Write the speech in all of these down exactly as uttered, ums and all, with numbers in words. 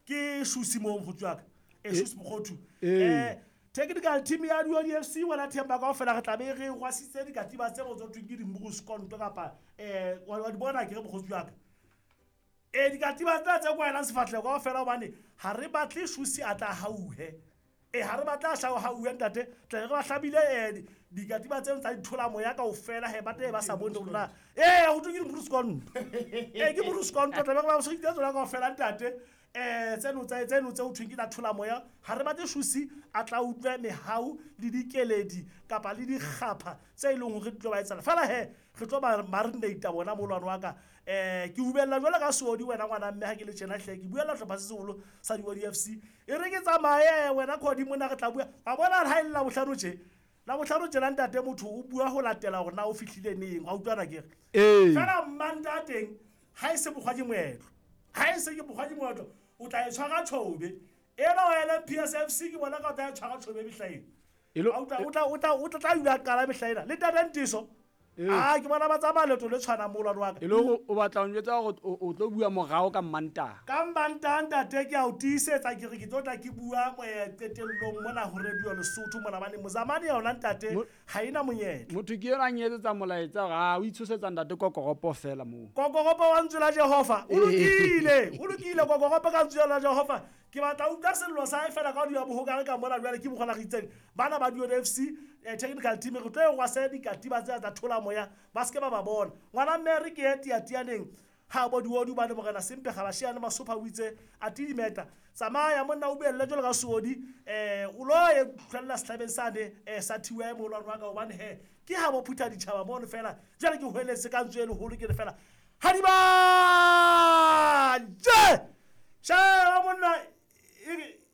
Ke Shusi mo mokgotsi wa ka. E Shusi Mokgothu. Eh technical team ya Diodi F C wena Themba kaofela re tla be re rwasitse dikatiba tse go thweng ke dimburuskondo kapa eh wa di bona ke re mokgotsi wa ka. E dikatiba tsena tse kwaelang sefahleho kaofela hobane ha re batle Shusi a tla hauhe. E ha re batla a hauhe ntate, tla re ba hlabile eh dikatiba tseno tsa dithola moya kaofela he ba tla ba sa bone hore na eh ho thwe ke dimburuskondo. Eh ke mburuskondo tla be re ba switse tsona kaofela ntate. Eh tseno tsa tseno tse ho thweng ke tsa thola moya ha re batle Shusi a tla utlwe mehau le dikeledi kapa le dikgapha tse e leng hore di tlo ba etsala fela he re tlo ba marinate bona molwane wa ka. Eh ke ubella jwalo ka Seodi wena ngwana mme ha ke le tjena hle ke buella hlopha se seholo sa Diodi F C e re ke tsamaye wena Khodi mona re tla bua wa bona ha e le la bohlano tje la bohlano tjena ntate motho o bua ho latela hore na o fihlile neng wa utlwana ke re fela mmanta teng ha e se bokgwa ke moetlo ha e se ke bokgwa ke moetlo o tla e tshwara tjhobe ena wa L M P S F C ke bona ka o tla e tshwara tjhobe mehlaena o tla o tla o tla o tla dula qala mehlaena le tata Ntiso ah ke bona ba tsamaya leeto le tshwana molwane wa ka e le hore o batla ho njwetsa hore o tlo bua morao ka Mmantaha ka Mmantaha ntate ke a o tiisetsa ke re ke tlo tla ke bua qetellong mona ho Radio Lesotho mona bane mozamane yona ntate ha ena monyetla motho ke yona a nyetsetsa molaetsa hore a o itshosetsa ntate kokoropo fela moo kokoropo wa ntswe la Jehova o lokile o lokile kokoropo ka ntswe la Jehova ke batla utlwa sello sa hae fela ka di ya bohokare ka mona jwale ke bokgona re itseng bana ba Diodi F C technical team re tlo e rwasa dikatiba tse tsa thola moya ba se ke ba ba bona ngwana mme re ke ye tiatianeng ha bo Diodi ba le morena Sempe ga ba shiane Masopha o itse a tidimeta tsamaya monna o buelle jwalo ka Seodi eh o lo ye tlhella sehlabeng sane eh sa T Y molwane wa ka hobane he ke ha bo phutha ditjhaba mono fela jwale ke hweletse ka ntswe e leholo ke re fela ha di ba je sheba monna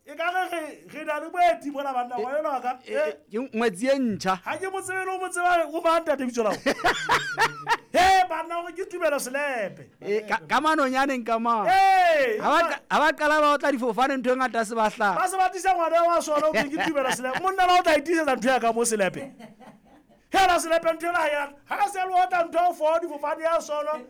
e ka re re na le boeti mona banna wa yona ka ke ngwetsi e ntjha ha ke motsebe le o motseba o mang ntate bitso la he banna hore ke tumelo selepe ka manonyaneng ka mang ha ba qala ba otla difofane ntho e ngata se ba hlaha ba se ba tlisa ngwana wa sona o ke tumelo selepe monna la o tla itisetsa ntho ya ka mo selepe hela selepe ntho ena ya ha se le otla ntho o fo difofane ya sona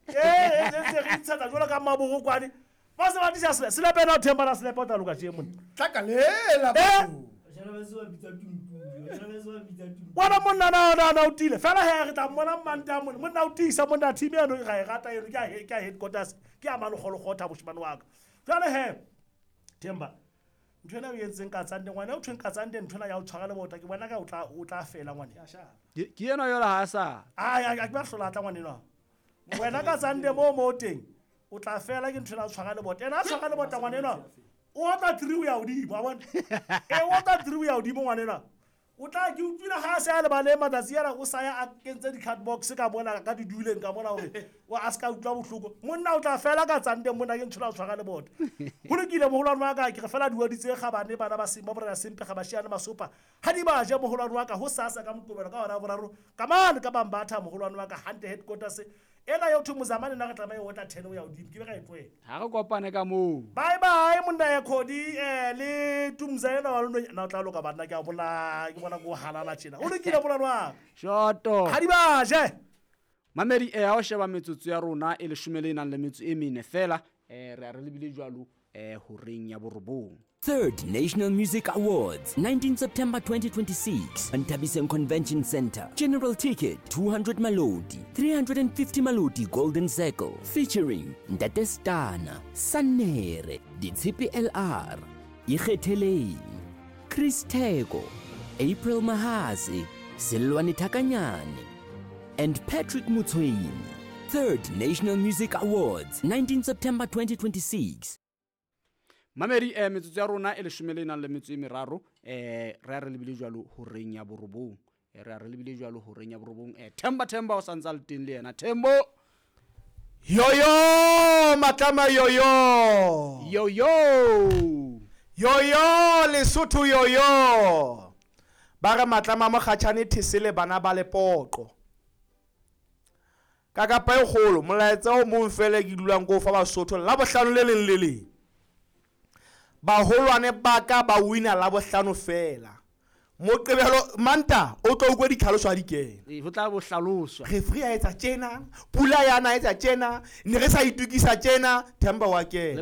eh e ntse re itshetsa jwalo ka maboro kwane ba se ba tlisa selepe na o themba na selepe o tla loka tje monna tlakalela batho wena monna na na na o tile fela he re tla mmona Mmanta monna monna o tiisa monna team eno ga e rata eno ke a ke a headquarters ke a malogologotha boshimane wa ka jwale he Themba ntho ena o entseng ka tsande ngwana o thweng ka tsande ntho ena ya o tshwara le bota ke bona ka o tla o tla fela ngwane ke ena yola ha sa a a ke ba hlola tla ngwane eno wena ka tsande mo mo teng o tla fela ke ntho ena o tshwara le bota ena a tshwara le bota ngwane eno o tla three o ya hodimo wa bona e o tla three o ya hodimo ngwane ena o tla ke utlwile ha se a le bale matsatsi ana o sa ya a kentse di-card box ka mona ka di duleng ka mona hore o a se ka utlwa bohloko monna o tla fela ka tsande monna ke ntho ena o tshwara le bota ho lokile moholwane wa ka ke re fela diodi tse kgabane bana ba Simba borena Sempe ga ba shiane Masopa ha di ba je moholwane wa ka ho sasa ka Moqebelo ka hora ya boraro ka mane ka Bambatha moholwane wa ka hante headquarters ena yo thwe mozamane nna re tlameha o tla ten o ya hodimo ke be ka e tlohela ha re kopane ka moo bye bye monna ya Khodi eh le Tumza ena wa lona na o tla loka banna ke a bona ke bona go halala tjena o lokile molwane wa ka shoto ha di ba je mamedi eh ha o sheba metsotso ya rona e leshome le nang le metso e mene fela eh re a re lebile jwalo eh horeng ya borobong. Third National Music Awards, nineteenth September twenty twenty-six, Nthabiseng Convention Center. General ticket, two hundred Maloti, three hundred fifty Maloti Golden Circle, featuring Ntate Stana, Sanere, Ditshipi L R, Ikgetheleng, Chris Theko, April Mahase, Selwane Thakanyane, and Patrick Mutshweni. Third National Music Awards, nineteenth September twenty twenty-six. Mamedi eh metsotso ya rona e leshome le nang le metso e meraro eh re a re lebile jwalo horeng ya borobong eh re a re lebile jwalo horeng ya borobong eh Themba Themba o santsa le teng le yena Thembo yoyo matlama yoyo yoyo yoyo Lesotho yoyo ba re matlama mokgatjhane thesele bana ba lepoqo ka kapa e kgolo molaetsa o mong fela ke dulang ko fa Basotho la bohlano le leng le leng baholwane ba ka ba wina la bohlano fela Moqebelo Manta o tlo utlwa ditlhaloso ha di kena. Ee, ho tla bo hlaloswa. Referee a etsa tjena, pula yana etsa tjena, ne re sa itukisa tjena, Themba wa kena.